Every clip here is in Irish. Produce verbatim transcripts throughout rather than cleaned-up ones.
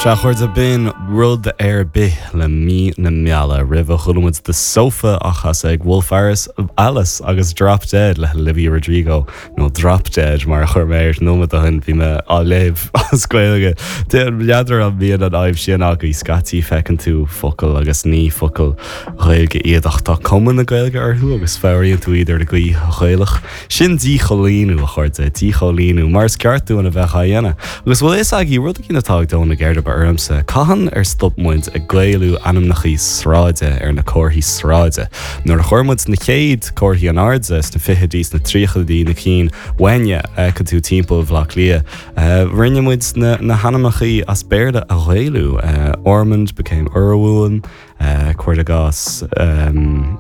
Sea a chairde b'in rud ar bith le mí na meala roimhe chuala muid The Sofa á chasadh ag Wolf Alice Alice agus Drop Dead le Olivia Rodrigo nó Drop Dead mar a chuir mé ar nóiméad ó shin bhí mé á léamh as Gaeilge. N'fheadar an mbíonn an fhadhb sin agaibh scaití feiceann tú focal agus ní focal Ghaeilge iad ach tá cuma na Gaeilge orthu agus fuaimníonn tú iad ar an gcaoi Ghaelach. Sin díchoilíniú a chairde díchoilíniú mar is ceart dúinn a bheith á dhéanamh. Agus bhfuil fhios agaibh rud éigin atá ag dó na geirbe ormsa, Cathain ar stop muid ag Gaelú ainmneacha sráide ar na comharthaí sráide. Nuair a chuir muid na chéad comharthaí in airde sna fichidí sna tríochaidí na cinn bhána a tú timpeall Bhaile Átha Cliath. Uh, rinne muid na, na hainmneacha as Béarla a Ghaelú. Uh, Ormond became Urwin, uh, Cuardagas um,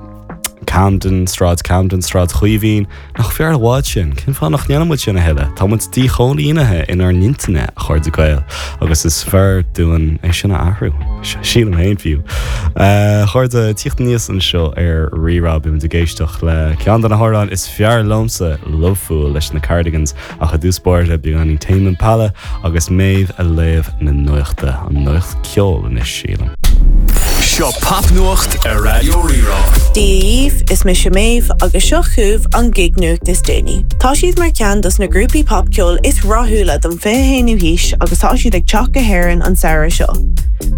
Camden, Sráid Camden, Sráid Chaoimhín, nach fearr i bhfad sin, cén fáth nach ndéanaimid sin a thuilleadh, Tá muid díchoilínithe inár n-intinne a chairde Gael, agus is fearr dúinn é sin a athrú sílim féin fiú. A chairde teacht aníos anseo ar Rí-Rá beimid ag éisteacht le ceann de na hamhráin is fearr liomsa Lovefool leis na Cardigans ach i dtús báire beagáinín Tame Impala agus Méabh ag léamh na nuachta an nuacht ceol anois sílim. Seo popnuacht ar Raidió Rí-Rá. Díomh is mise Méabh agus seo chugaibh an gig-nuacht is déanaí. Tá siad mar cheann dos na grúpaí popcheoil is rathúla don fiche haonú haois agus tá siad ag teacht go hÉirinn an samhradh seo.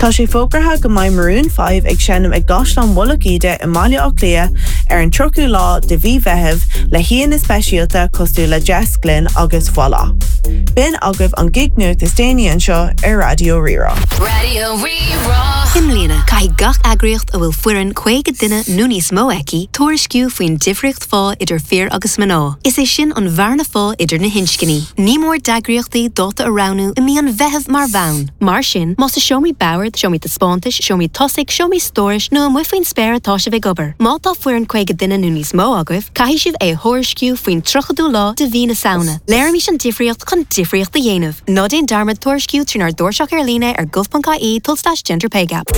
Tá sé fógartha go mbeidh Maroon five ag seinm ag gCaisleán Mhullach Íde i mBaile Átha Cliath ar an tríochú lá de mhí Mheithimh le haíonna speisialta cosúil le Jess Glynne agus Voila. B'in agaibh an gig-nuacht is déanaí anseo ar Raidió Rí-Rá. Raidió Rí-Rá. I mbliana caithfidh gach eagraíocht a bhfuil foireann caoga duine nó níos mó aici tuairisciú faoin difríocht phá idir fir agus mná. Is é sin an bhearna phá idir na hinscní. Ní mór d'eagraíochtaí dáta a roghnú i mí an Mheithimh mar bhonn. Mar sin más i seomraí boird, seomraí taispeántais, seomraí tosaigh, seomraí stórais nó amuigh faoin spéir atá sibh ag obair. Má tá foireann caoga duine nó níos mó agaibh, caithfidh sibh é thuairisciú faoin tríochadú lá de mhí na Samhna. Léirímis an difríocht chun difríocht a dhéanamh. Ná déan dearmad tuairisciú trínár dtairseach ar líne ar gov ponc ie tulslais gender pay gap.